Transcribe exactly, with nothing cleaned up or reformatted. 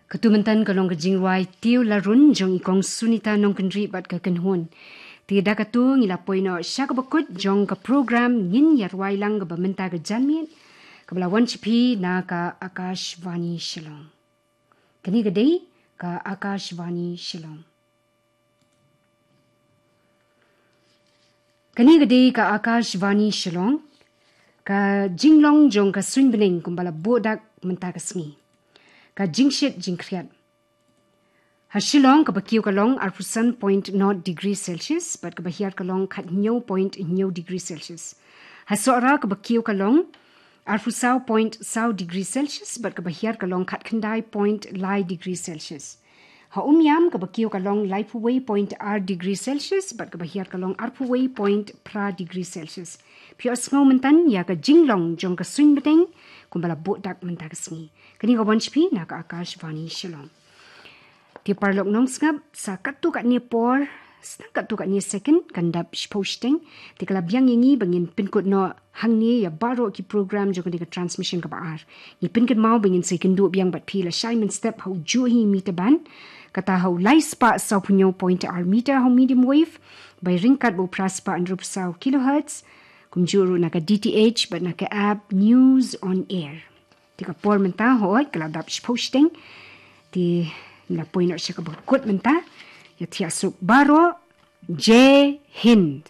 Katu myntan ka long ka jingrwai Tiew Larun jong i Kong Sunita Nongkynrih bad ka kynhun. Te da katu ngi la poi noh sha kaba kut jong ka program, ngin ïa rwai lang kaba mynta ka janmiet, kaba la wan sha phi na ka Akashvani Shillong. Kane ka dei ka Akashvani Shillong. Kane ka dei ka Akashvani Shillong. Ka jinglong jong ka suiñ bneng kumba la buh dak mynta ka sngi. Ka jingshit jingkhriat. Ha Shillong kaba kiew ka long arphew san point nod degree Celsius bad kaba hiar ka long khathynñiew point hynñiew degree Celsius. Ha Sohra kaba kiew ka long arphew saw point saw degree Celsius bad kaba hiar ka long khatkhyndai point lai degree Celsius. Ha Umiam kaba kiew ka long laiphew wei point ar degree Celsius bad kaba hiar ka long arphew wei point phra degree Celsius. Phi ïohsngew myntan ïa ka jinglong jong ka suiñ bneng kumba la buh dak mynta ka sngi. Kane ka wan sha phi na ka Akashvani Shillong. Te paralok nongsngap, sa katto katne por, sa katto katne second kan dap shiphew shiteng. Te ka la biang ïa ngi ba ngin pynkut noh hangne ïa baroh ki program jong kane ka transmission kaba ar. Ngi pynkynmaw ba ngin sa ïakynduh biang bad phi lashai mynstep ha u juh hi meter band, kata ha u lai spah sawphew hynñiew point ar meter ha u medium wave, ba ryngkat bad u phra spah hynriewphew saw kilohertz, kumjuh ruh na ka D T H bad na ka app News on Air. Te ka por mynta hooid ka la dap shiphew shiteng. Te ngi la poi noh sha kaba kut mynta. Ïa thiah suk baroh. Jai Hind.